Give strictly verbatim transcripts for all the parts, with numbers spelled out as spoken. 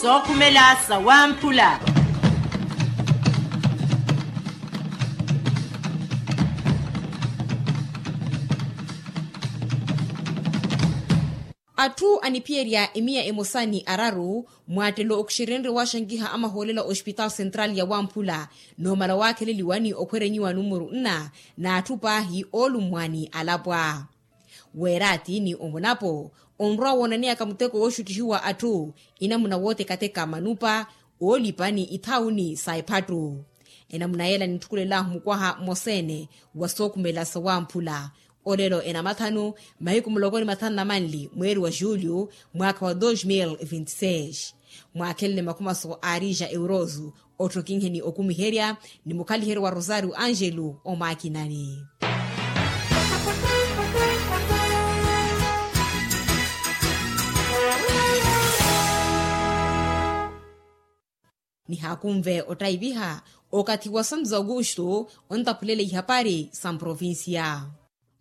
Sookhumela sawamphula. Atthu aniphiyerya emiya emosa ni araru mwaattelo okuxerenrye waxankiha amahoolela ospitaal central ya wamphula, noomala waakheleliwa ni okhwerenyiwa numuru nna n'atthu paahi oolummwa ni alapwa. Weeraati ni omunapo onrwa woonaneyaka muteko wooxuttihiwa atthu enamuna wootekateka manupa oolipa ni ithaawuni sa ephattu. Enamuna yeela nintthukhulelahu mukwaha mmosa-ene wa sookhumela sawamphula. Olelo enamathanu mahiku muloko ni mathanu na manli mweeri wa julho mwaakha wa dos mil vinti seis. Mwaakhelele makhumaso aarija euroso otthokinhe ni okumiherya ni mukhaliheryo wa rosario angelo omwakinani. Nihaakunve ottaiviha okathi wa santos augusto ontaphulele ihapari sa mprovincia.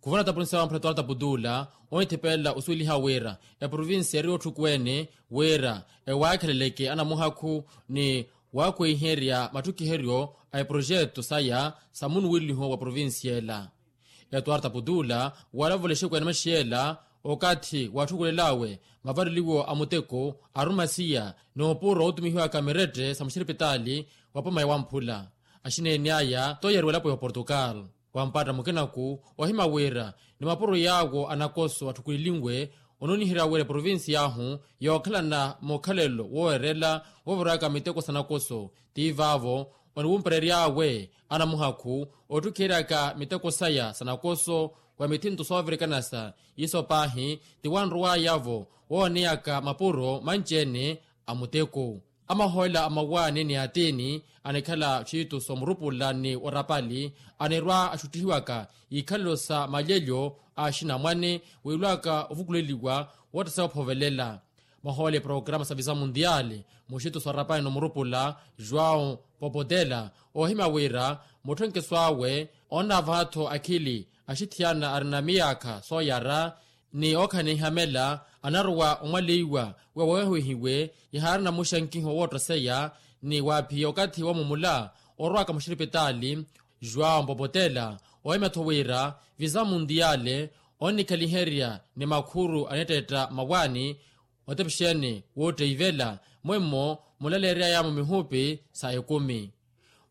Kuvona tapulinsa wa mphula tuwala taputuula onithipelela osuweliha wira eprovinsi eri otthukuwene wira ewaakheleleke anamuhakhu ni waakwehiherya mattukiheryo a eprojeto saya sa munuweliho wa provinsi ela. Etuwala taputuula walavula exeku ya namaxiyela okathi watthukulelawe mavareliwo a muteko arumasiya ni opuro otumihiwaka mirette sa muxiripitaali wa poma ya wamphula. Axineeni aya toyeriwa elapo ya oportugal. Wampatta mukinaku ohima wira ni mapuro yaawo anakoso atthukulilinwe ononiherya wira eprovincia ahu yookhalana mukhalelo woowerela wooviraka miteko sa nakoso ti vaavo oniwumpereryaawe anamuhakhu otthukiheryaka miteko saya sa nakoso wa mithinto soovirikanasa. Iso paahi ti wanrowaya-vo wooneyaka mapuro manci-ene a muteko. Amahoolela a mawaani ni atini anikhala txiituso murupula ni orapali anirwa axuttihiwaka ikhalelo sa malyelyo a axinamwane wiilwaka ovukuleliwa woottasa ophovelela. Mahoolela eprokarama sa visa mundial muxituso arapani nomurupula joão popotela ohima wira mutthonkeso awe onnaavaha-tho akhili axithiyana arina miyaakha sooyara ni ookhanehiha mela anarowa omwaleiwa wa wawehiwe ihaarina muxankiho woottoseya ni waaphiya okathi wamumula orowaka muxiripitaali. João popotela ohima-tho wira visa mundial onnikhaliherya ni makhuru anitteetta mawaani otepexene wootteivela mwemmo mulaleeryayamo mihupi sa ekumi.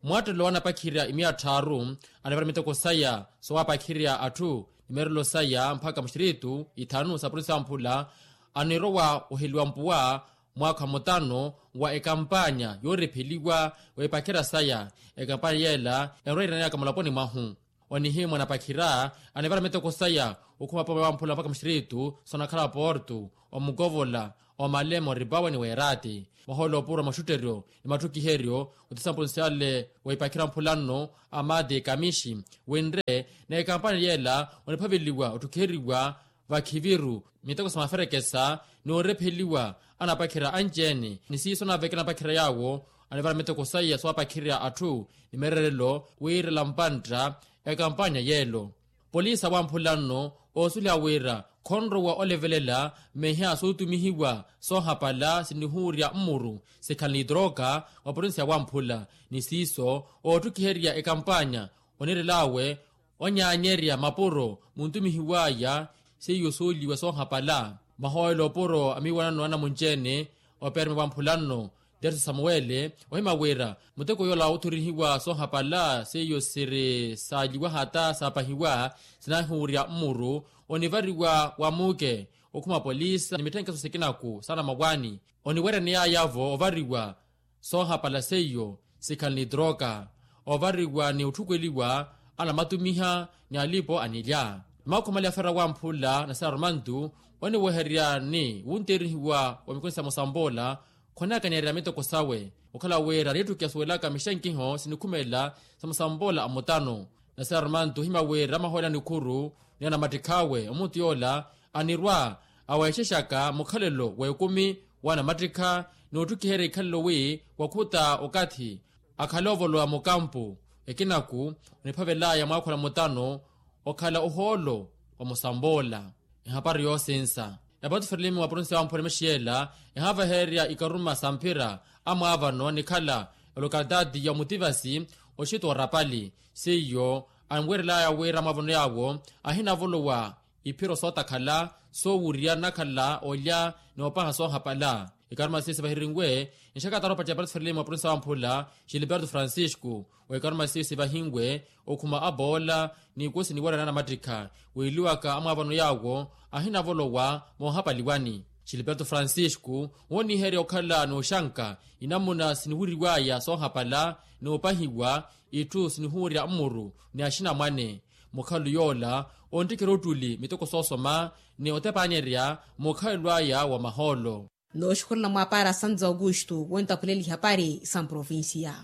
Mwattelo wanapakhirya imiya tthaaru anivara miteko saya sowapakhirya atthu ni meerelo saya mpakha muxiritu ithanu sa provinsi ya mphula anirowa oheliwa mpuwa mwaakha mutano wa ekampanya yoorepheliwa wa ipakhira saya. Ekampanya yeela enrowa iraneyaka mulaponi mwahu onihimwa na pakhira anivara miteko saya okhuma pome wamphula mpakha muxiritu sonakhala porto omukovola omalema oripawe ni weerati. Mahoolo opuro a maxutteryo ni matthukiheryo otisamponsyale wa ipakhira mphula nno amati kamixi winre na ekampanya yeela oniphaveliwa otthukiheriwa vakhiviru miteko sa maferekesa ni orepheliwa anapakhira anci-ene ni siiso naaveke anapakhira yaawo anivara miteko saya sowapakhirya atthu ni mererelo wiirela mpantta ekampanya yeelo. Polisi awamphula nno oosuliha wira khonrowa olevelela mmeha sootumihiwa soohapala sinihuurya mmuru sikhala ni troka wa provinsi ya wamphula ni siiso ootthukiherya ekampanya onirelaawe onyaanyerya mapuro muntumihiw'aya seiyo sooliwa soohapala. Mahoolo opuro a miiwanano anamunci-ene operme wamphula nno terso samuwele ohima wira muteko yoola oothorihiwa soohapala seiyo siri saaliwa hata saapahiwa sinahuurya mmuru onivariwa wa muuke okhuma polisi ni mitthenkeso sikinaku saana mawaani oniwereneyaya-vo ovariwa soohapala seiyo sikhala ni troka ovariwa ni otthukweliwa anamatumiha ni alipo anilya. Makhumali afera wamphula na sera romantu oniweherya ni wunterihiwa wa mikonisa ya musamboola khonakanyerya miteko sawe okhala wira nitthu kiyasuwelaka mixankiho sinikhumela sa musamboola a mutano. Na sera romantu ohima wira mahoolani khuru ni anamattikh'awe omuntu yoola anirwa aweexexaka mukhalelo w'ekumi w'anamattikha n'otthukiherya ikhalelo wi wakhuta okathi akhale ovolowa mukampu ekinaku oniphavel'aya mwaakhula mutano okhala ohoolo wa musamboola. Ehapari yoosinsa Epato ferelimi wa provincia wa mpura emexiyela ehaavahererya ikaruma sa mphira amwaavano nikhala olokalitaati ya omutivasi oxito wa rapali seiyo anwerelaya wira amwaavano yaawo ahinavolowa iphiro sootakhala soowurya nakhala olya noopaha soohapala. Ikaruma seiyo sivahirinwe nxakatara opaceya epato ferelimi wa provincia wa mpura xiliperto francisco. Wa ikaruma seiyo sivahinwe okhuma aboola n'ikoosi niwerana namattikha wiiliwaka amwaavano yaawo ahinavolowa moohapaliwani. Xiliperto francisco wooniherya okhala n'oxanka inamuna siniwuriwaya soohapala n'opahiwa itthu sinihuurya mmuru ni axinamwane. Mukhalo yoola onttikherya ottuli miteko soosoma ni otepaanyerya mukhalelo aya wa mahoolo. Nooxukhurela mwapaara santo augusto wontaphulela ihapari sa mprovincia.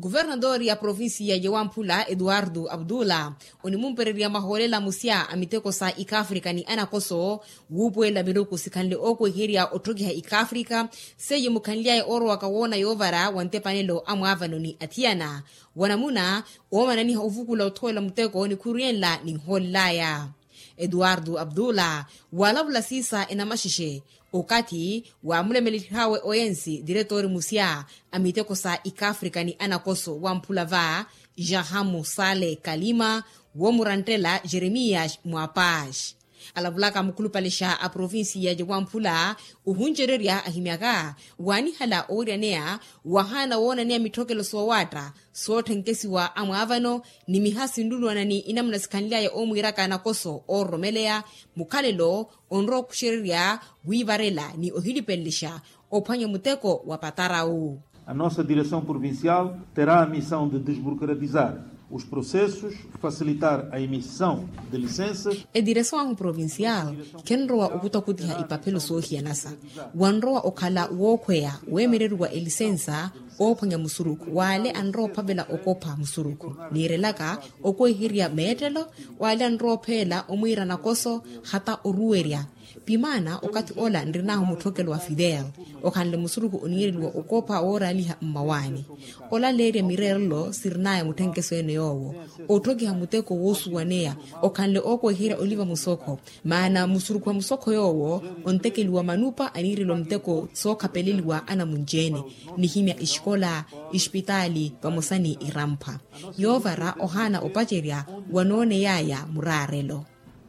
Kuvernatori ya provincia ya wamphula eduardo abdullah onimumpererya mahoolela musya a miteko sa ikafrika ni anakoso wuupuwelela miruku sikhanle ookweherya otthokiha ikafrika seiye mukhanly'aya oorowaka woona yoovara wa ntepanelo a mwaavano ni athiyana wanamuna oomananiha ovukula othowelela muteko nikhuru yenla ninhoolel'aya. Eduardo abdullah walavula siisa enamaxexe okathi waamulemelelihawe oyensi diretori musya a miteko sa ikafrika ni anakoso wamphula va jahamu sale kalima woomuranttela jeremias mwapax alavulaka mukhulupalexa a provincia ja wamphula ohuncererya ahimyaka waanihala oweryaneya wahaana woonaneya mitthokelo soowaatta sootthenkkesiwa a mwaavano ni miha sinluluwana ni inamuna sikhanly'aya oomwiiraka anakoso oororomeleya mukhalelo onrowa okhuxererya wiivarela ni ohilipelelexa ophwanya muteko wa patarawu. A nossa direção provincial terá a missão de desburocratizar os processos, facilitar a emissão de licenças. Ediresawahu provincial khenrowa okutakutiha ipaphelo soohiyanasa wanrowa okhala wookhweya weemereriwa elisensa oophwanya musurukhu w'ale anrowa ophavela okopha musurukhu niirelaka okweherya meettelo w'ale anrowa opheela omwiira nakoso hata oruwerya. Pimaana okathi ola nrin'ahu mutthokelo wa fidel okhanle musurukhu oniireliwa okopha wooraaliha mmawaani. Olaleerya mireerelo sirin'aya mutthenkeso ene yoowo otthokiha muteko woosuwaneya okhanle ookweherya oliva musokho. Maana musurukhu wa musokho yoowo ontekeliwa manupa aniireliwa muteko sookhapeleliwa anamunci-ene nihimya ixikola, ixipitaali vamosa ni iramphwa yoovara ohaana opacerya wanooney'aya muraarelo.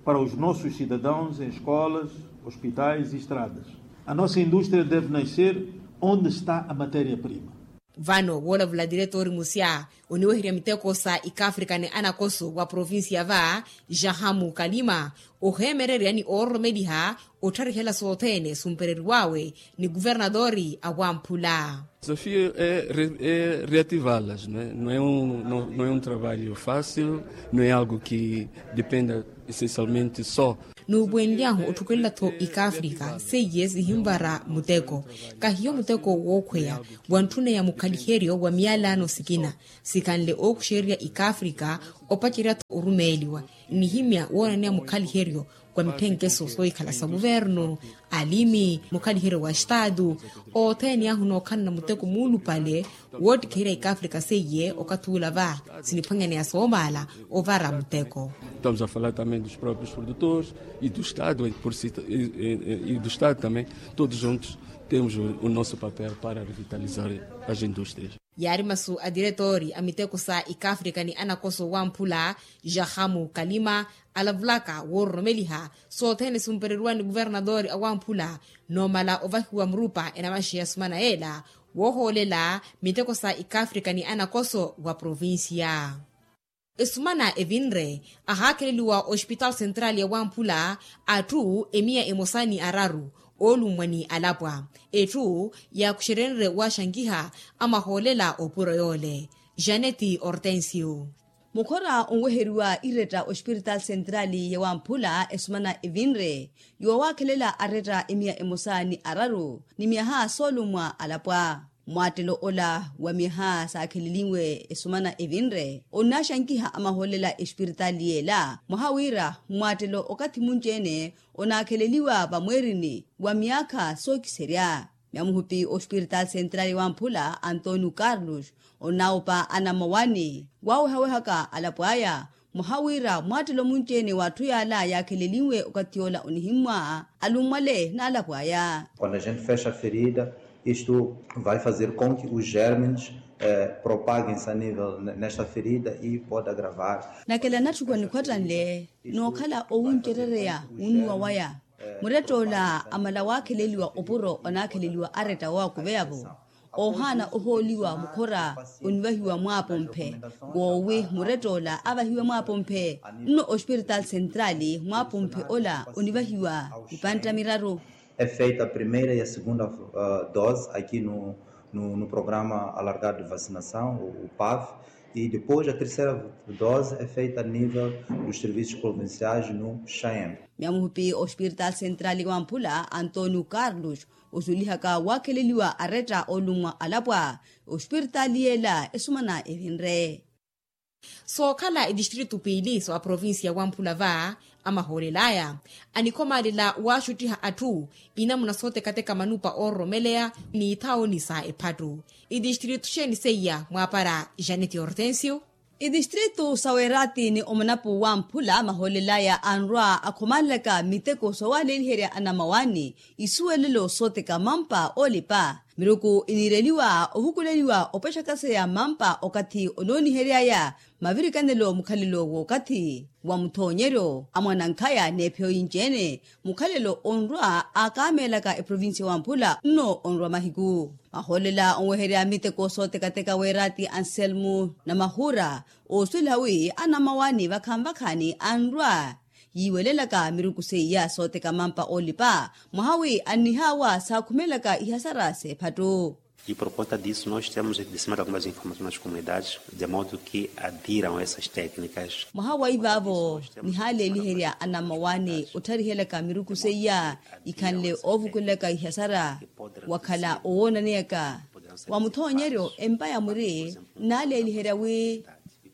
Para os nossos cidadãos em escolas, hospitais e estradas. A nossa indústria deve nascer onde está a matéria-prima. Vano woolavula diretori musya oniweherya miteko sa ikafrika ni anakoso wa provincia va jahamu kalima oheemererya ni oororomeliha ottharihela sothene sumpereriwawe ni kuvernatori a wamphula. Desafio é reativalas no é um trabalho fácil, no é algo que dependa essencialmente só. Nuupuwenly'ahu otthukelela-tho ikafrika seiye sihinvara muteko kahiyo muteko wookhweya wantthuneya mukhaliheryo wa miyalano sikina sikhanle ookuxererya ikafrika opacerya-tho orumeeliwa nihimya woonaneya mukhaliheryo wa mitthenkeso soohikhala sa kuvernu alimi mukhaliheryo wa estaatu othene ahu nookhalana muteko muulupale woottikherya ikafrika seiye okathi ula va siniphwanyaneya soomaala ovara muteko. Estamos a falar também dos próprios produtores e do estado e do estado também todos juntos temos o nosso papel para revitalizar as indústrias. Yaari masu a diretori a miteko sa ikafrika ni anakoso wamphula jahamu kalima alavulaka woororomeliha sothene sumpereriwa ni kuvernatori a wamphula noomala ovahiwa murupa enamaxeya sumana yeela woohoolela miteko sa ikafrika ni anakoso wa provincia. Esumana evinre ahaakheleliwa ospitaal central ya wamphula atthu emiya emosa ni araru oolummwa ni alapwa etthu yaakuxerenre waaxankiha amahoolela opuro yoole. Janeti hortensio. Mukhora onweheriwa iretta ospitaal central ya wamphula esumana evinre yoowaakhelela aretta emiya emosa ni araru ni myaha soolummwa alapwa. Mwaattelo ola wa myaha saakheleliwe esumana evinre onnaxankiha amahoolela espiritaali yeela mwaha wira mwaattelo okathi munci-ene onaakheleliwa vamweerini wa myaakha sookiserya. Myamuhupi ospiritaali sentrali wamphula antonio carlos onnawupa anamawani waawehawehaka alapw'aya Mwaha wira mwaattelo munci-ene w'atthu yaala yaakheleliwe okathi yoola onihimmwa alummwale n'alapo aya. Quando a gente fecha a ferida, isto vai fazer com que os germes propaguem-se a nível nesta ferida e pode agravar. Nakela natthukuwa nikhwattanle n'okhala owuncerereya wunnuwa waya. Murett'ola amala waakheleliwa opuro onaakheleliwa aretta woowakuveya-vo. Oohaana ohooliwa mukhora onivahiwa mwaapomphe. Woowi murett'ola avahiwe mwaapomphe nno ospiritaali sentraali mwaapomphe ola onivahiwa ipantta miraru. É feita a primeira e a segunda dose aqui no no programa alargado de vacinação o pav, e depois a terceira dose é feita a nível dos serviços provinciais no chaem. Miyamuhupi ospiritaali sentraali wamphula antonio carlos osulihaka waakheleliwa aretta olummwa alapwa ospiritaali yeela esumana evinre. Sookhala etistritu piili sa provincia wamphula va amahoolelaya anikhomaalela waxuttiha atthu inamuna sootekateka manupa oororomeleya ni ithaoni sa ephattu. Itistritu xeeni seiya mwaapara janet hortensio. Itistritu sa weeraati ni omunapu wamphula mahoolelaya anrwa akhomaalelaka miteko soowaaleeliherya anamawaani isuwelelo sooteka mampa oolipa miruku iniireliwa ovukuleliwa opexakaseya mampa okathi onooniheryaya mavirikanelo mukhalelo w'okathi wa muthoonyeryo a mwanankhaya n'ephiyo yinci-ene mukhalelo onrwa aakaameelaka eprovincia wamphula nno onrwa mahiku. Mahoolela onweherya miteko sootekateka weeraati anselmu na mahuura oosuwela wi anamawaani vakhanvakhaani anrwa yiiwelelaka miruku seiya sooteka mampa oolipa mwaha wi annihaawa saakhumelaka ihasara s'ephattu. E por conta disso nós temos disseminado algumas informações nas comunidades de modo que adiram essas técnicas. Mwaha wa ivaavo nihaaleeliherya anamawaani ottharihelaka miruku seiya ikhanle oovukulelaka ihasara wakhala owoonaneyaka wa muthoonyeryo empa ya mwiri nnaaleeliherya wi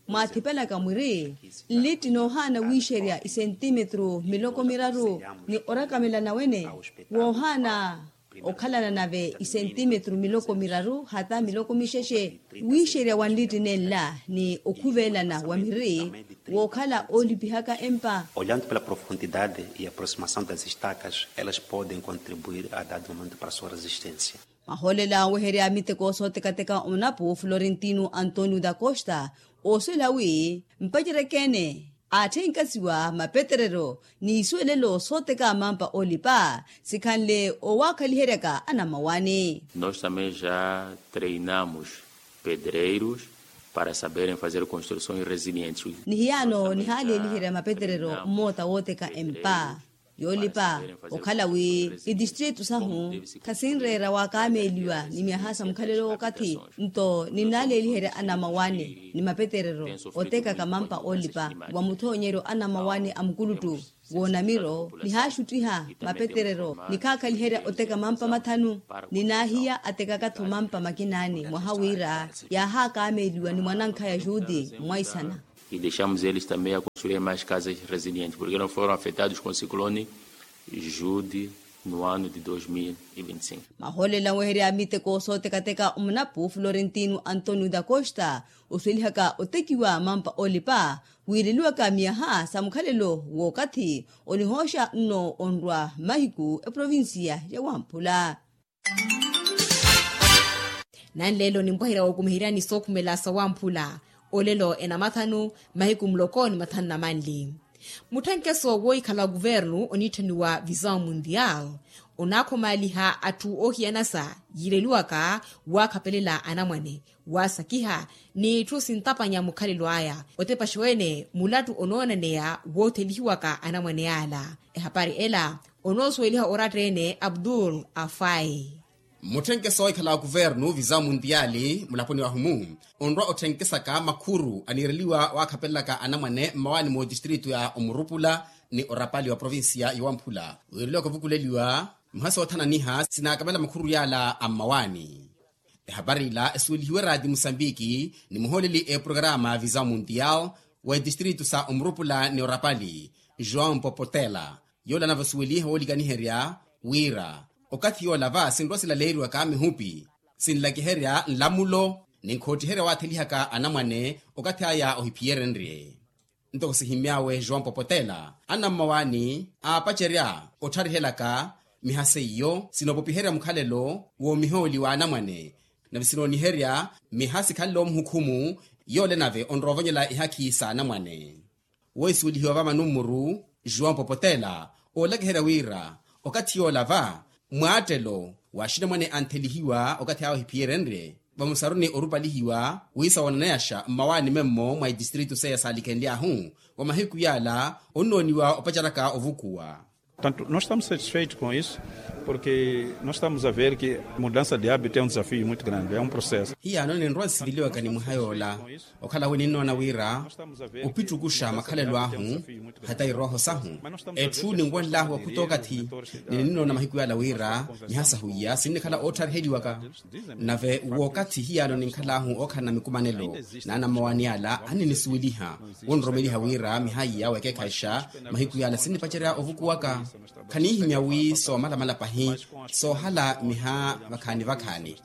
mwaathipelaka mwiri nlitti noohaana wiixerya isentimetru miloko miraru ni orakamela nawene woohaana okhalana nave isentimetru miloko miraru hata miloko mixexe wiixerya wa nlitti nenla ni okhuvelana wa miri wookhala oolipihaka empa. Olhando pela profundidade e aproximação das estacas elas podem contribuir a dado momento para sua resistência. Mahoolela onweherya miteko sootekateka onapu florentino antonio da costa oosuwela wi mpacereke-ene aatthenkaziwa mapeterero n'isuwelelo sooteka mampa oolipa sikhanle owaakhaliheryaka anamawaani. Nós também já treinamos pedreiros para saberem fazer construções resilientes. Nihiyaano nihaaleeliherya mapeterero mmoota wooteka empa yoolipa okhala wi itistritu sahu khasinreera waakaameeliwa ni myaha sa mukhalelo w'okathi nto ninnaaleeliherya anamawaani ni mapeterero otekaka mampa oolipa wa muthoonyeryo anamawaani a mukuluttu woonamiro nihaaxuttiha mapeterero nikhaakhaliherya oteka mampa mathanu ninaahiya atekaka-tho mampa makinaani mwaha wira yaahaakaameeliwa ni mwanankhaya juti mwaisana. E deixamos eles também a construir mais casas resilientes porque não foram afetados com o ciclone jude no ano de dois mil e vinte e cinco. Mahoolela onweherya miteko sootekateka omunapu florentino antonio da costa osuwelihaka otekiwa mampa oolipa wiireliwaka myaha sa mukhalelo w'okathi onihooxa nno onrwa mahiku eprovincia ya wamphula. Nanleelo nimpwaherya wookumiheryani sookhumela sa wamphula olelo enamathanu mahiku muloko ni mathanu na manli. Mutthenkeso woohikhala wa kuvernu oniitthaniwa visao mundial onaakhomaaliha atthu oohiyanasa yiireliwaka waakhapelela anamwane waasakiha n'itthu sintapanya mukhalelo aya otepaxa wene mulattu onoonaneya woothelihiwaka anamwane yaala ehapari ela onoosuweliha oratta-ene abdul afai. Mutthenkeso oikhala wa kuvernu visao mundial mulaponi wahumu onrwa otthenksaka makhuru aniireliwa waakhapelelaka anamwane mmawaani mootistritu ya omurupula ni orapali wa provincia ya wamphula wiireliwaka ovukuleliwa muhasi oothananiha sinaakamela makhuru yaala a mmawaani. Ehapari ila esuwelihiwe raati musambiki ni muhooleli eprograma visao mundial w'etistritu sa omurupula ni orapali joão popotela yoole anavasuweliha woolikaniherya wira okathi yoola va sinrwa silaleeriwaka mihupi sinlakiherya nlamulo ni nkhoottiherya waathelihaka anamwane okathi aya ohiphiyerenrye. Ntoko sihimmy'awe joão popotela, anammawaani aapacerya ottharihelaka miha seiyo sinoopopiherya mukhalelo woomihooli w'anamwane. Nave sinooniherya miha sikhanle omuhukhumu yoole nave onrowa ovonyela ihakhi s'anamwane. Wohisuwelihiwa vamanummuru joão popotela oolakiherya wira okathi yoola va mwaattelo w'axinamwane anthelihiwa okathi awo ehiphiyerenrye vamusaruni orupalihiwa wiisa woonaneyaxa mmawaani memmo mwa itistritu seiya saalikhenly'ahu. Wa mahiku yaala onnooniwa opaceraka ovukuwa. Portanto nós estamos satisfeitos com isso, porque nós estamos a ver que mudança de hábito é um desafio muito grande é um processo. Hiyaano ninrowa nsiveliwaka ni mwiha yoola okhala wi ninnoona wira opittukuxa makhalelo ahu hata irooho sahu. Etthu ninwenlahu wakhuta okathi ni ninnoona mahiku yaala wira miha sahu iya sinnikhala ootthariheryiwaka. Nave w'okathi hiyaano ninkhal'ahu ookhalana mikumanelo n'anammawaani ala aninisuweliha wonroromeliha wira miha iya wekeekhayixa mahiku yaala sinnipacerya ovukuwaka. Khanihimya wi soomalamala pahi soohala miha vakhaani vakhaani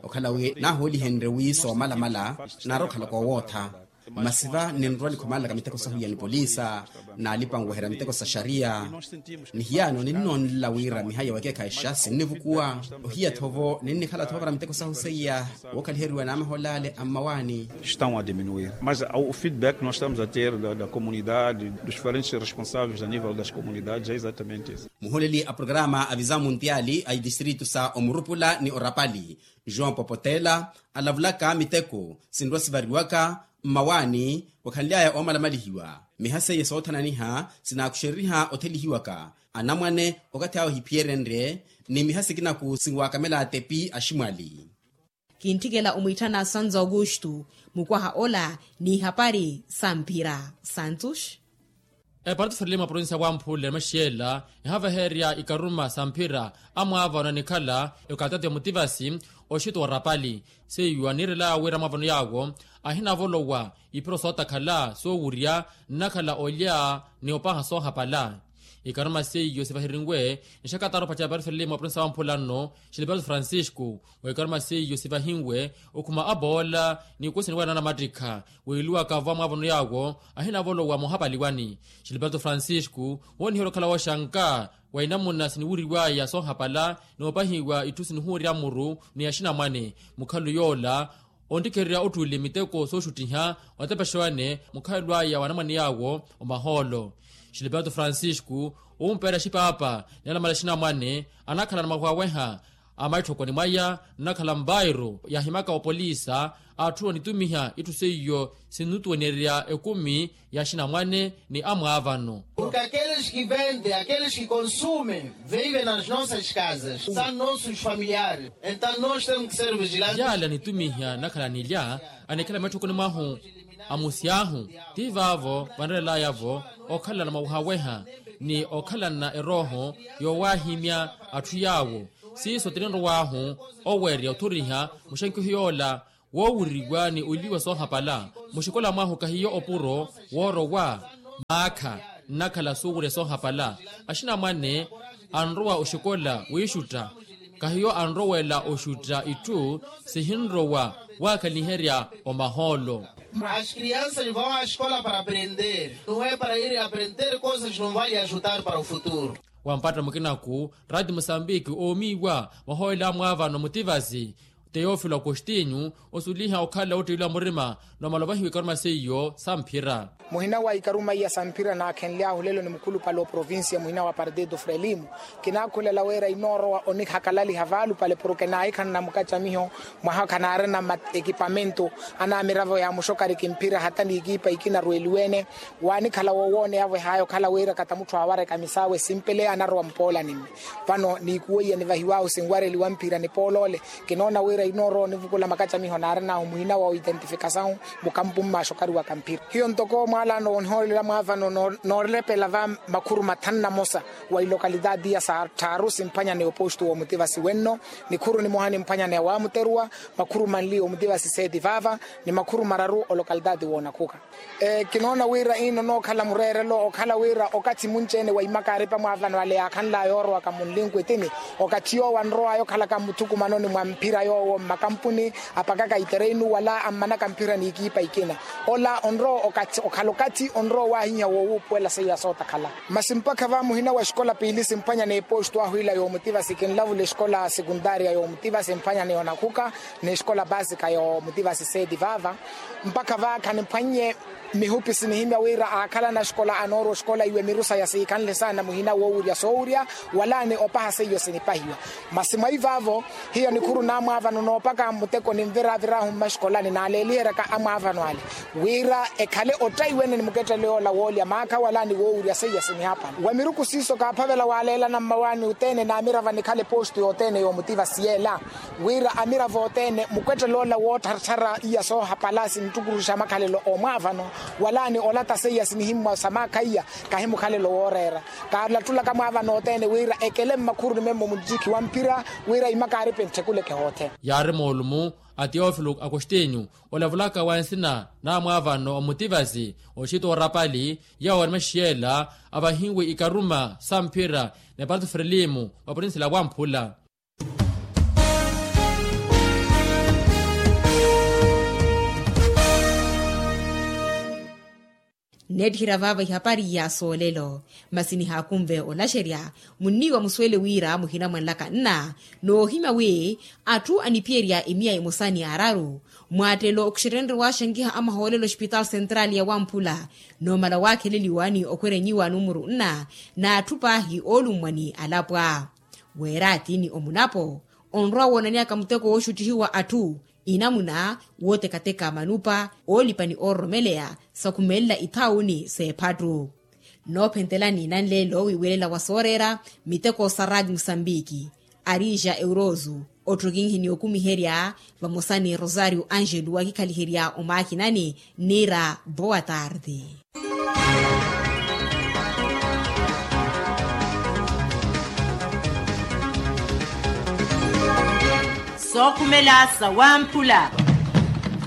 okhala wi naahoolihenrye wi soomalamala naari okhalaka owootha. Masi va ninrowa nikhumanlaka miteko sahu ya nipolisa naalipa nweherya miteko sa xariya. Ni hiyaano ninnoonlela wira miha ya wekeekhayixa sinnivukuwa ohiya-tho vo ninnikhala-tho vara miteko sahu seiya wookhaliheriwa n'amahool'ale a mmawaani. Estão a diminuir mas o feedback nós estamos a ter da comunidade dos diferentes responsáveis a nível das comunidades é exatamente isso. Muhooleli a programa a visão muntiali a itistritu sa omurupula ni orapali joão popotela alavulaka miteko sinrowa sivariwaka mmawaani wakhanly'aya oomalamalihiwa miha seiye soothananiha sinaakuxereriha othelihiwaka anamwane okathi awo ehiphiyerenrye ni miha sikinaku sinwakamela atepi aximwali. Kintthikela omwiitthana santo augusto mukwaha ola n'ihapari samphira santos. Eparti ferelima provincia wamphule maxiela ehaveherya ikaruma samphira amwaavano anikhala ekatati omutivasi oxito wa rapali seiyo anirelaya wira amwaavano yaawo ahinavolowa iphiro sootakhala soowurya nnakhala olya ni opaha soohapala. Ikaruma seiyo sivahirinwe nixakatara opaca eparti ferelima provincia wamphula nno xiliperto francisco. Weekaruma seiyo sivahinwe okhuma aboola ni ikusi niwera nanamattikha wiiluwaka vo amwaavano yaawo ahinavolowa moohapaliwani. Xiliperto francisco wooniherya okhala wooxanka wa inamuna siniwuriwaya soohapala noopahiwa itthu sinihuwerya muru ni axinamwane mukhalu yoola onttikhererya otthuli miteko sooxuttiha otepexe wane mukhalu aya wa anamwane yaawo omahoolo. Xiliperto francisco ompeerya xipaapa ni alamala axinamwane anakhala na mwawaweha a maitthokoni mwaya nnakhala mvairo yaahimaka opolisa atthu onitumiha itthu seiyo sinnutuwenerya ekumi ya axinamwane ni amwaavano. Porque aqueles que vendem aqueles que consumem vivem nas nossas casas são nossos familiares. Então nós temos que ser vigilantes. Yaala anitumiha nnakhala anilya anikhala maitthokoni mwahu amusi ahu ti vaavo vanrerelayavo okhalana mwawaweha ni okhalana erooho yoowahimya atthu yaawo. Siiso tininrow'ahu owerya othoriha muxankiho yoola woowuriwa ni oliwa soohapala muxikola mwahu kahiyo opuro woorowa maakha nnakhala soowurya soohapala. Axinamwane anrowa oxikola wiixutta kahiyo anrowela oxutta itthu sihinrowa waakaniherya omahoolo. As crianças vão à escola para aprender, não é para ir aprender coisas não vai lhe ajudar para o futuro. Wampatta mukinaku rati musambiki oomiiwa mwahoyela amwaavano mutivasi teofilo agostinho osuliha okhala ottiilwa murima n'omalovahiwa ikaruma seiyo samphira. Muhina wa ikaruma iya samphira naakhenly'ahu lelo ni mukhulupale oprovincia muhina wa partido frelimo. Kinaakhulela wira inoorowa onihakalaliha vaalupale porke naahikhala na mukacamiho mwaha khanaarina ekipamento anaamiravo ya muxokari kimphira hata n'ikipa ikina arweliwene. Waanikhala wowooneyavo ehaya okhala wira kata mutthu aawareka misaawe simpele anarowa mpoolani mme. Vano niikuweiya nivahiw'ahu sinwareliwa mphira nipooloole. Kinoona wira inoorowa onivukula makacamiho naarin'ahu muhina wa oidentificasawu mukampu mmaaxokari wa kamphira hiyo ntoko mwaalaano woonihoolela mwaavano noorelepela va makhuru mathanu na mosa wa ilokalitaati iya sa tthaaru simphwanya ni oposto w'omutivasi wenno. Nikhuru nimoha nimphwanya ni awaamuteruwa makhuru manli omutivasi seeti vaava ni makhuru mararu olokalitaati woonakhuka. Kinoona wira ino nookhala mureerelo okhala wira okathi munci-ene wa imakaaripa mwaavano ale yaakhanlaya yoorowaka munlinkwitini okathi yoowo anrowaya okhalaka mmuthukumanoni mwa mphira yoowo. Mmakampuni apakaka itereinu wala ammanaka mphira n'ikiipa ikina. Ola onrowa okhala okathi onrowa owaahiha woowuupuwela seiya sootakhala. Masi mpakha va muhina wa exikola piili simphwanya n'epostu ahu ila yoomutivasi kinlavula exikola sekuntaariya yoomutivasi emphwanya ni onakhuka n'exikola paasika yoomutivasi seeti vaava. Mpakha va khanimphwannye mihupi sinihimya wira aakhalana axikola anoorwa oxikola iwe miru saya siikhanle saana muhina woowurya soowurya walaani opaha seiyo sinipahiwa. Masi mwaivavo hiyo nikhuru naamwaavano noopaka muteko ninviraviraahu mmaxikolani naaleeliheryaka amwaavano ale wira ekhale ottaiwene ni muketteleyoola woolya maakha walaani woowurya seiya sinihapala wa miruku siiso kaaphavela waaleelana mmawaani othene naamirava nikhale postu yothene yoomutivasi yeela wira amiravo othene mukwetteloola woottarttara iya soohapala sinttukuruxa makhalelo oomwaavano walaani olata seiya sinihimmwa sa maakha iya kahi mukhalelo wooreera. Kaalattulaka mwaavano othene wira ekele mmakhuruni memmo munttiki wa mphira wira imakaaripe ntthekuleke hoothene. Yaari moolumu a teofilo akostinyu olavulaka wa nsina naamwaavano omutivasi oxita orapali yawo ori maxiyela avahiwe ikaruma sa mphira ni aparto frelimu wa purinsila wamphula. Nneettiherya vaava ihapari ya soolelo. Masi nihaakunve olaxerya munniiwa musuwele wira muhina mwanlaka nna noohimya wi atthu aniphiyerya emiya emosa ni araru mwaattelo okuxettenrye waaxankiha amahoolelo oxipitaali sentrali ya wamphula noomala waakheleliwa ni okhwerenyiwa numuru nna n'atthu paahi oolummwa ni alapwa weeraati ni omunapo onrowa woonaneyaka muteko wooxuttihiwa atthu inamuna wootekateka manupa oolipa ni oororomeleya sakhumelela ithaawuni s'ephattu. Noophentelani nanleelo wiiwelela wa sooreera miteko sa raati musambiki arija eurozu ottokinhi ni okumiherya vamosa ni rosario angelu wakikhaliherya omaakinani niira boa tarde. Sookhumela sa wamphula.